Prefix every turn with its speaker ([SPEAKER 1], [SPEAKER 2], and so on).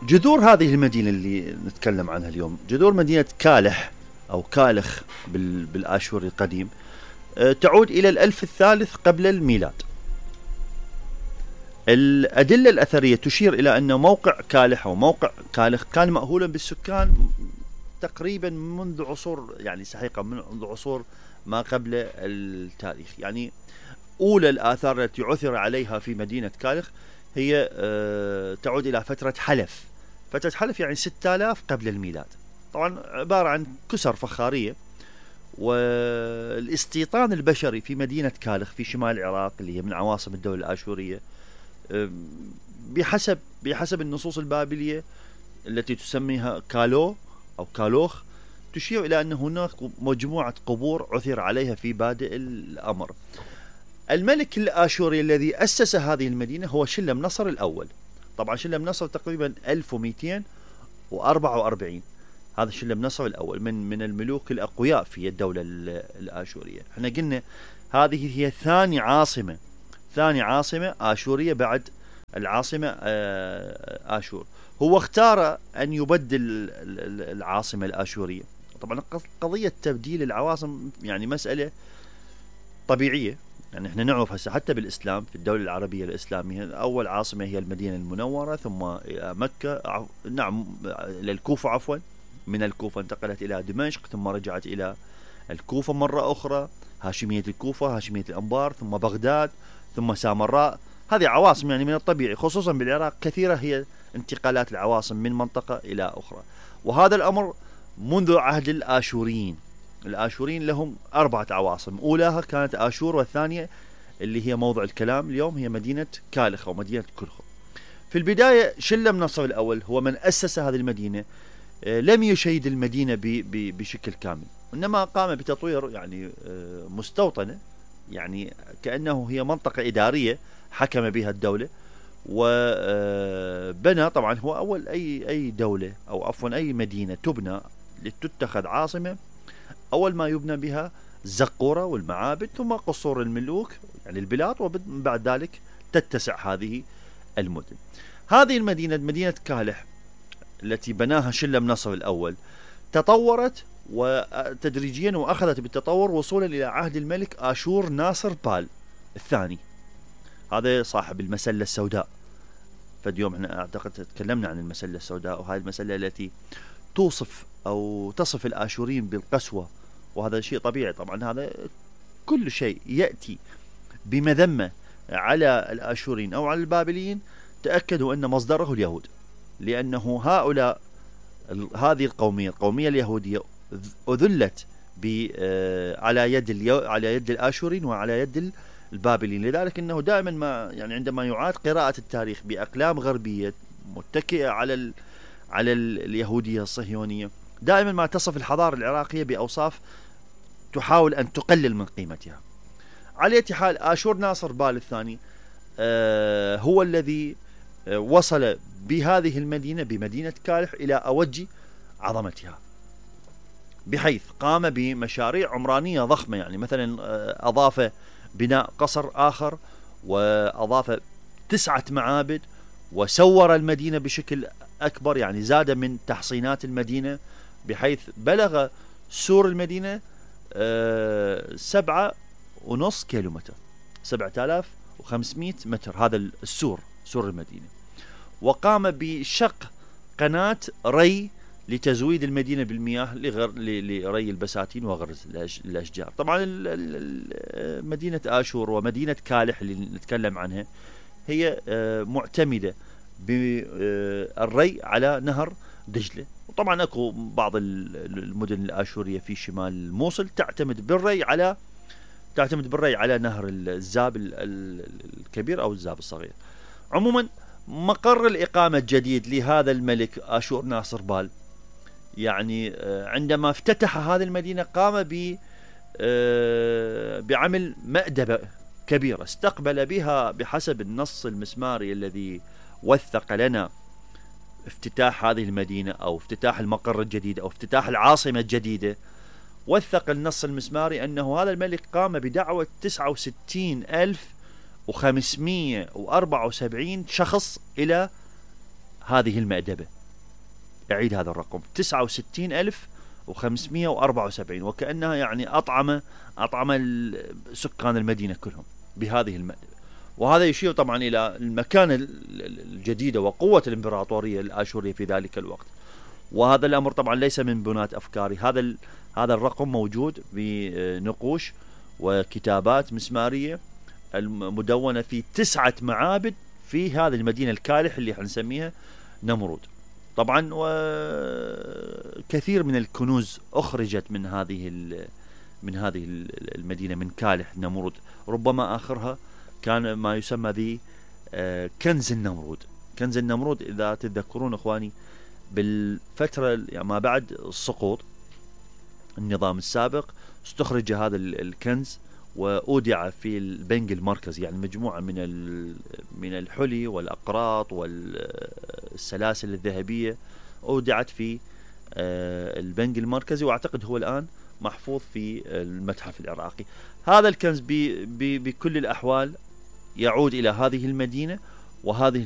[SPEAKER 1] جذور هذه المدينة اللي نتكلم عنها اليوم، جذور مدينة كالح أو كالخ بالآشوري القديم، تعود إلى الألف الثالث قبل الميلاد. الأدلة الأثرية تشير إلى أن موقع كالح أو موقع كالخ كان مأهولا بالسكان تقريبا منذ عصور، يعني سحيقة منذ عصور ما قبل التاريخ. يعني أولى الآثار التي عثر عليها في مدينة كالخ هي تعود إلى فترة حلف. فترة حلف يعني 6000 قبل الميلاد. طبعا عبارة عن كسر فخارية. والاستيطان البشري في مدينة كالخ في شمال العراق اللي هي من عواصم الدولة الآشورية بحسب النصوص البابلية التي تسميها كالو أو كالوخ، تشير إلى أن هناك مجموعة قبور عثر عليها في بادئ الأمر. الملك الآشوري الذي أسس هذه المدينة هو شلم نصر الأول. طبعا شلم نصر تقريبا 1244. هذا شلم نصر الأول من الملوك الأقوياء في الدولة الآشورية. احنا قلنا هذه هي ثاني عاصمة آشورية بعد العاصمة آشور. هو اختار أن يبدل العاصمة الآشورية. طبعا قضية تبديل العواصم يعني مسألة طبيعية، يعني احنا نعرف هسه حتى بالإسلام في الدولة العربية الإسلامية أول عاصمة هي المدينة المنورة، ثم إلى مكة، نعم إلى الكوفة عفوا، من الكوفة انتقلت إلى دمشق، ثم رجعت إلى الكوفة مرة أخرى، هاشمية الكوفة، هاشمية الأنبار، ثم بغداد، ثم سامراء. هذه عواصم يعني من الطبيعي خصوصا بالعراق كثيرة هي انتقالات العواصم من منطقة إلى أخرى. وهذا الأمر منذ عهد الآشوريين. الآشوريين لهم 4 عواصم، أولاها كانت آشور، والثانية اللي هي موضع الكلام اليوم هي مدينة كالخ أو مدينة كلخ. في البداية شلم نصر الأول هو من أسس هذه المدينة. لم يشيد المدينة بشكل كامل، إنما قام بتطوير يعني مستوطنة، يعني كأنه هي منطقة إدارية حكم بها الدولة. وبنى طبعا هو أول أي دولة أو عفوا أي مدينة تبنى لتتخذ عاصمة، أول ما يبنى بها الزقورة والمعابد ثم قصور الملوك يعني البلاد، وبعد ذلك تتسع هذه المدن. هذه المدينة مدينة كالح التي بناها شلم نصر الأول تطورت وتدريجيا وأخذت بالتطور وصولا إلى عهد الملك آشور ناصر بال الثاني، هذا صاحب المسلة السوداء. فاليوم احنا أعتقد تكلمنا عن المسلة السوداء، وهذه المسلة التي توصف أو تصف الآشوريين بالقسوة، وهذا شيء طبيعي. طبعا هذا كل شيء يأتي بمذمة على الآشوريين أو على البابليين تأكدوا أن مصدره اليهود، لأنه هؤلاء هذه القومية اليهودية أذلت على يد الآشوريين وعلى يد البابليين. لذلك أنه دائما ما يعني عندما يعاد قراءة التاريخ بأقلام غربية متكئة على اليهودية الصهيونية، دائما ما تصف الحضارة العراقية بأوصاف تحاول أن تقلل من قيمتها. على أي حال آشور ناصر بال الثاني هو الذي وصل بهذه المدينة بمدينة كالح إلى أوج عظمتها، بحيث قام بمشاريع عمرانية ضخمة. يعني مثلا أضاف بناء قصر آخر، وأضاف 9 معابد، وسور المدينة بشكل أكبر، يعني زاد من تحصينات المدينة بحيث بلغ سور المدينة 7.5 كيلومتر، 7500 متر هذا السور، سور المدينة. وقام بشق قناة ري لتزويد المدينة بالمياه لري البساتين وغرز الأشجار. طبعا مدينة آشور ومدينة كالح اللي نتكلم عنها هي معتمدة بالري على نهر دجلة. وطبعا اكو بعض المدن الآشورية في شمال الموصل تعتمد بالري على نهر الزاب الكبير أو الزاب الصغير. عموما مقر الإقامة الجديد لهذا الملك آشور ناصر بال، يعني عندما افتتح هذه المدينة قام بعمل مأدبة كبيرة استقبل بها بحسب النص المسماري الذي وثق لنا افتتاح هذه المدينة أو افتتاح المقر الجديد أو افتتاح العاصمة الجديدة. وثق النص المسماري أنه هذا الملك قام بدعوة 69,574 شخص إلى هذه المأدبة أعيد هذا الرقم 69,574، وكأنها يعني أطعم سكان المدينة كلهم بهذه وهذا يشير طبعا إلى المكانة الجديدة وقوة الإمبراطورية الآشورية في ذلك الوقت. وهذا الأمر طبعا ليس من بنات أفكاري، هذا الرقم موجود بنقوش وكتابات مسمارية المدونة في 9 معابد في هذه المدينة الكالح اللي حنسميها نمرود. طبعا وكثير من الكنوز أخرجت من هذه المدينة من كالح نمرود، ربما آخرها كان ما يسمى كنز النمرود. كنز النمرود إذا تتذكرون إخواني بالفترة يعني ما بعد سقوط النظام السابق، استخرج هذا الكنز وأودع في البنك المركزي، يعني مجموعة من الحلي والأقراط والسلاسل الذهبية أودعت في البنك المركزي، وأعتقد هو الآن محفوظ في المتحف العراقي. هذا الكنز بكل الأحوال يعود إلى هذه المدينة وهذه